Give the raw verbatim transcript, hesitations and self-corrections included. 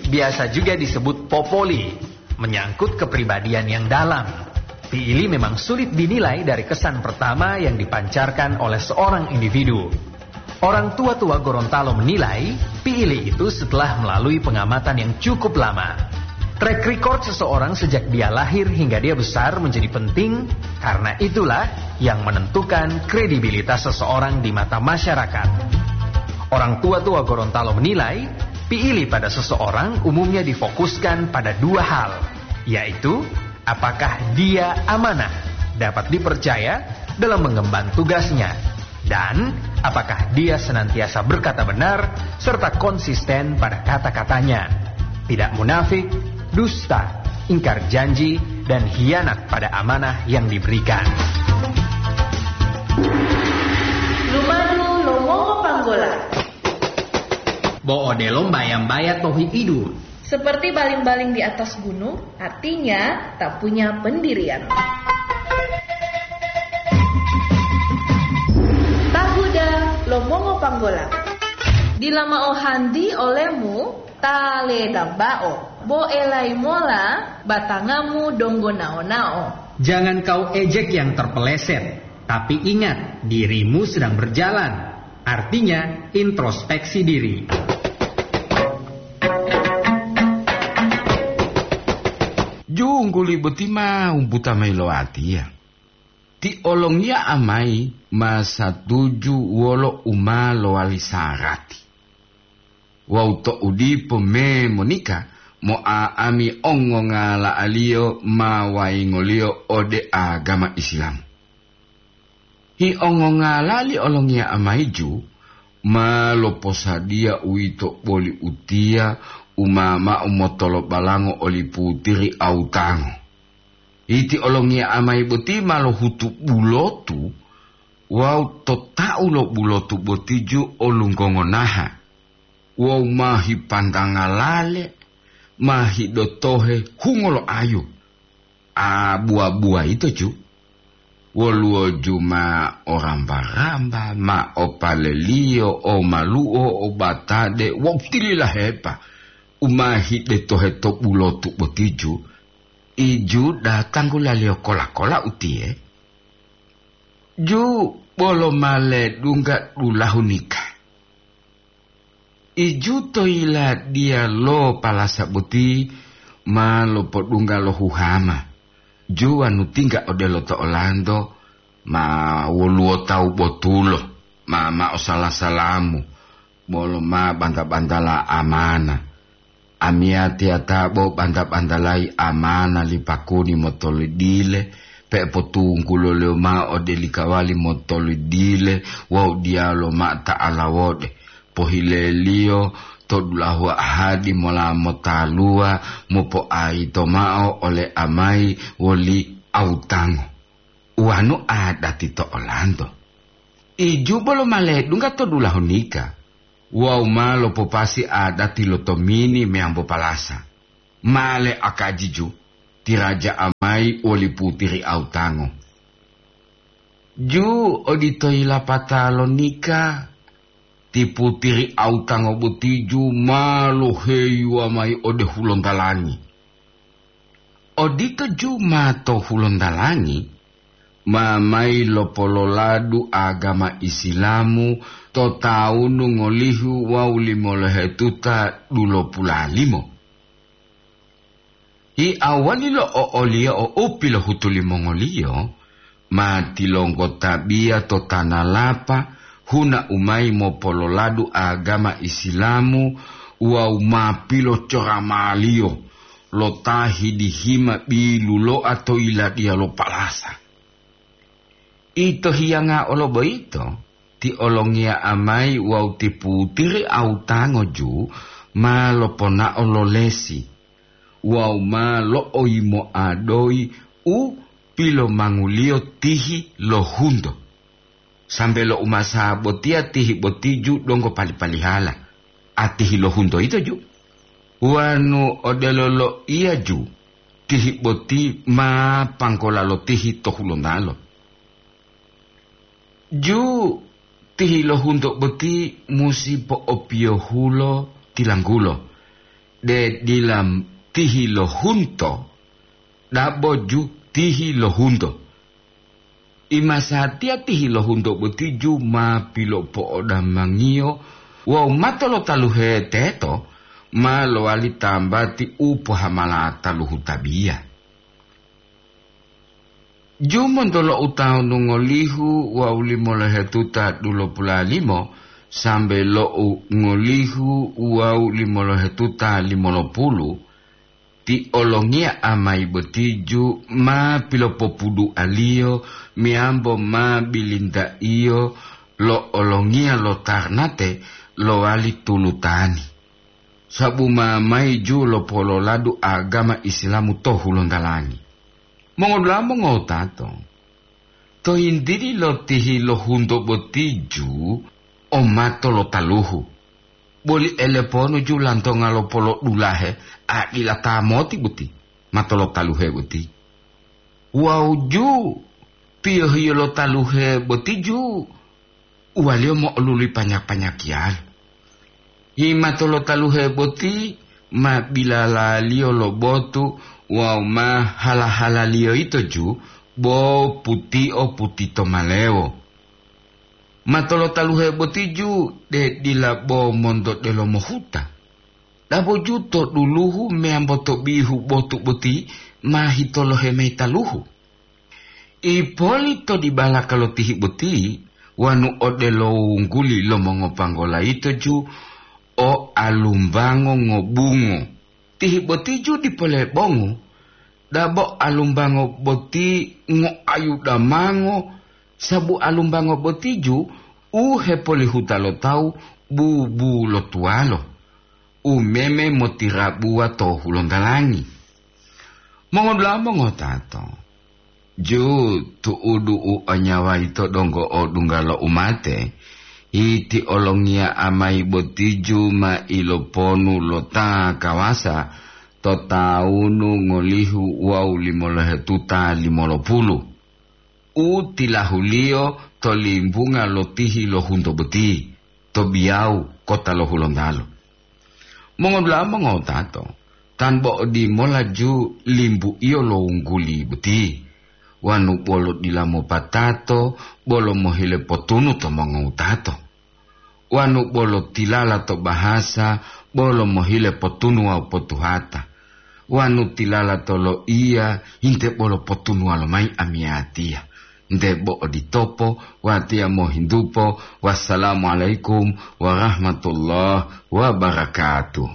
Biasa juga disebut popoli, menyangkut kepribadian yang dalam. Piili memang sulit dinilai dari kesan pertama yang dipancarkan oleh seorang individu. Orang tua-tua Gorontalo menilai, piili itu setelah melalui pengamatan yang cukup lama. Track record seseorang sejak dia lahir hingga dia besar menjadi penting, karena itulah yang menentukan kredibilitas seseorang di mata masyarakat. Orang tua-tua Gorontalo menilai, piili pada seseorang umumnya difokuskan pada dua hal, yaitu apakah dia amanah, dapat dipercaya dalam mengemban tugasnya, dan apakah dia senantiasa berkata benar serta konsisten pada kata-katanya, tidak munafik, dusta, ingkar janji, dan hianat pada amanah yang diberikan. Lumadu lo Mongo Panggola. Bo odelo mbaya-mbaya to hi'idu. Seperti baling-baling di atas gunung, artinya tak punya pendirian. Tahuda lo Mongo Panggola. Dila mao hanti olemu ta ledambao, bo elai mola batangamu donggo nao-nao. Jangan kau ejek yang terpeleset, tapi ingat, dirimu sedang berjalan. Artinya, introspeksi diri. Jungguli boti ma wumbuta mayi lo watiya. Ti olongiya amayi ma satuju wolo u ma lowali sarati. Wawu to'u dipo me monika, mo'a'ami ongongala'aliyo ma wayingoliyo ode agama Islam. Hi ongongalali olongiya amayi ju ma loposadiya uwito boli utiya u ma ma'o motolobalango oli putiri autango. Iti olongiya amayi boti ma lohutu bulotu wawu to tau lo bulotu boti ju olunggongonaha wawu ma hipantanga lale, ma hidotohe hungo lo ayu. A buwa-buwa ito ju, woluwo ju ma o ramba-ramba, ma o paleliyo, o malu'o, o batade, wawu tililahepa u ma hidetohe to bulotu boti ju, iju datanggu laliyo kola-kola utiye, ju bolo ma ledungga dulahu nika. Iju to yiladiya lo palasa boti ma lopodungga lo huhama, ju wanu tingga odelo to olanto ma woluwo tawu botulo, ma ma'o sala-salamu, bolo ma banta-bantala amana. Amiyatiya ta bo banta-bantalayi amana li pakuni motolidile, pe'epotungguloliyo ma'o ode likawali motolidile wawu diyaluwo ma'o ta'ala wode. Pohileliyo to dulahu ahadi mola motaluwa mopo'ayito ma'o ole amayi woli awutango. Wanu adati to olanto. Iju bolo ma ledungga to dulahu nika, wawu ma lopopasi adati lo tomini meyambo palasa. Ma le akajiju, ti raja amayi woli putiri autango. Ju odito yilapata lo nika, ti putiri autango boti ju ma loheyuwa mayi ode hulontalangi. Odito ju ma to hulontalangi, ma mayi lopololadu agama Isilamu to tawunu ngolihu wawu limolohetuta dulopulalimo. Hi awali lo o'oliyo o u pilohutu limongoliyo, ma tilonggotabiya to tanalapa huna u mayi mopololadu agama Isilamu wawu ma pilocoramaliyo lo ta hidihima bilulo'a to yiladiya lo palasa. Ito hiyanga olo boyito, ti olongiya amayi wawu ti putiri autango ju ma loponao lo lesi wawu ma lo'oyimoadoyi u pilomanguliyo tihi lo hunto. Sambe lo umasa botiya tihi boti ju donggo pali-palihala, a tihi lo hunto yito ju. Wanu odelo loiya ju, tihi boti ma panggola lo tihi to hulontalo. Ju tihi lo hunto boti musi po'opiyohulo tilanggulo. De dila tihi lo hunto, dabo ju tihi lo hunto. Imasatiya tihi lo hunto boti ju ma pilopo'odamangiyo wawu mato lo taluhe teto ma lowali tambati u pohamala taluhu tabiya. Ju monto lo utawunu ngolihu wawu limolohetuta dulopula limo sambe lo u ngolihu wawu limolohetuta limolopulu, ti olongiya amayi boti ju ma pilopopudualiyo meyambo ma bilintaiyo lo olongiya lo tarnate lowali tulutani, sabu ma mayi ju lopololadu agama Isilamu to Hulontalangi. Mongodula'a mongotato, to yintili lo tihi lo hunto boti ju o mato lo taluhu, boli eleponu ju lantonga lo polodulahe a dila ta moti boti, mato lo taluhe boti. Wawu ju piyohiyo lo taluhe boti ju uwaliyo mo'oluli panya-panyakiyalo. Himato lo taluhe boti ma bilalaliyo lo botu wawu ma hala-halaliyo yito ju bo putio putito malewo. Mato lo taluhe boti ju de dila bo monto delomo huta. Dabo ju to duluhu meyambo to bihu botu boti ma hitolohe mayi taluhu. Ipoli to dibalaka lo tihi boti, wanu odelo wungguli lo mongopanggola yito ju o alumbango ngobungo. Tihi boti ju dipo lebongu, dabo alumbango boti ngoayu damango, sabu alumbango boti ju u hepolihuta lo tawu bubu lo tuwalo, u meme motirabuwa to Hulontalangi. Mongodula'a mongotato, ju tu'udu u o nyawa yito donggo odungga lo umate, iti olongiya amayi boti ju ma iloponu lo ta kawasa to tawunu ngolihu wawu limolohetuta limolopulu, u tilahuliyo to limbunga lo tihi lo hunto boti, to Biyawu, kota lo Hulontalo. Mongodula'a mongotato, tan bo odimola ju limbu'iyo lo wungguli boti, wanu bolo dila mopatato bolo mohile potunu to mongotato, wanu bolo tilala to bahasa bolo mohile potunu wawu potuhata, wanu tilala to loiya hinte bolo potunuwa lomayi amiyatiya. Nte bo oditopo, watiya mohintupo. Wassalamualaikum warahmatullahi wabarakatuh.